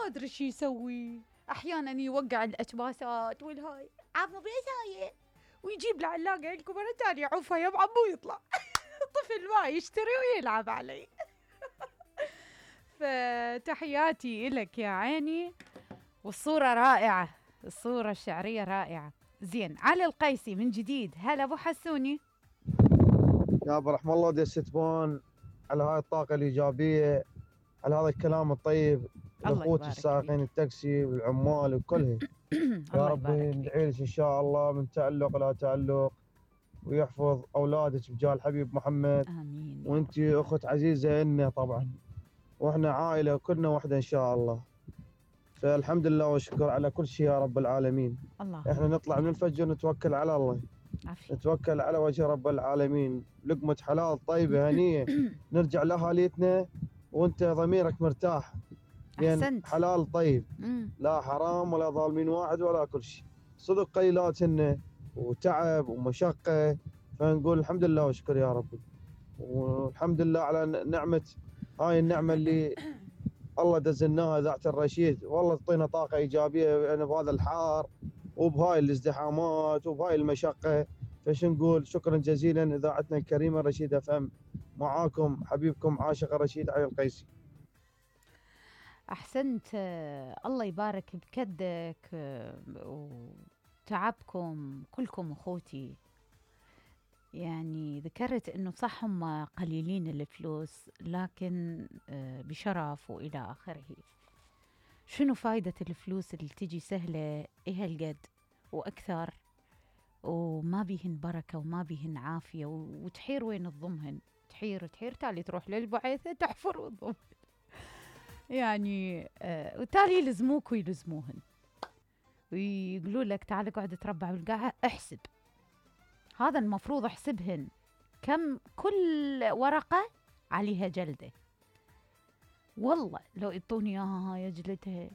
ادري شي يسوي. احيانا يوقع الاكباسات والهاي عمو بيش هاي ويجيب العلاقه عندكم مره ثانيه عوفها يا عمو يطلع. طفل ما يشتري ويلعب علي. فتحياتي إلك يا عيني. والصورة رائعة، الصورة الشعرية رائعة. زين، علي القيسي من جديد. هلا ابو حسوني. يا ابو رحم الله دستبون على هاي الطاقة الإيجابية، على هذا الكلام الطيب، الأخوة السائقين التاكسي والعمال وكلهم. يا رب ندعي لك إن شاء الله من تألق لا تألق، ويحفظ أولادك بجاه الحبيب محمد. آمين. وأنت أخت عزيزة إلنا طبعا، وإحنا عائلة كلنا وحدة إن شاء الله. فالحمد لله والشكر على كل شيء يا رب العالمين. الله. إحنا نطلع من الفجر نتوكل على الله، عفي. نتوكل على وجه رب العالمين، لقمة حلال طيبة هنية نرجع لأهاليتنا وانت ضميرك مرتاح، لأن حلال طيب لا حرام ولا ظالمين واحد ولا كل شيء. صدق قليلات هن وتعب ومشقة، فنقول الحمد لله وشكر يا رب. والحمد لله على نعمة، هاي النعمة اللي الله دزلناها إذاعة الرشيد. والله تعطينا طاقة إيجابية يعني بهذا الحار وبهاي الازدحامات وبهاي المشقة. فش نقول شكرا جزيلا إذاعتنا الكريمة رشيد FM. معاكم حبيبكم عاشق رشيد علي القيسي. أحسنت. الله يبارك بكدك وتعبكم كلكم أخوتي. يعني ذكرت إنه صح هم قليلين الفلوس، لكن بشرف وإلى آخره. شنو فايدة الفلوس اللي تجي سهلة إيه هالقد وأكثر، وما بيهن بركة وما بيهن عافية، وتحير وين تضمهن؟ تحير تالي تروح للبعثة تحفر وتضمهن. يعني وتالي يلزموك ويلزموهن ويقولوا لك تعال اقعد تربع بالقاعة. احسب، هذا المفروض احسبهن كم كل ورقة عليها جلدة. والله لو يعطوني اياها هاي جلدها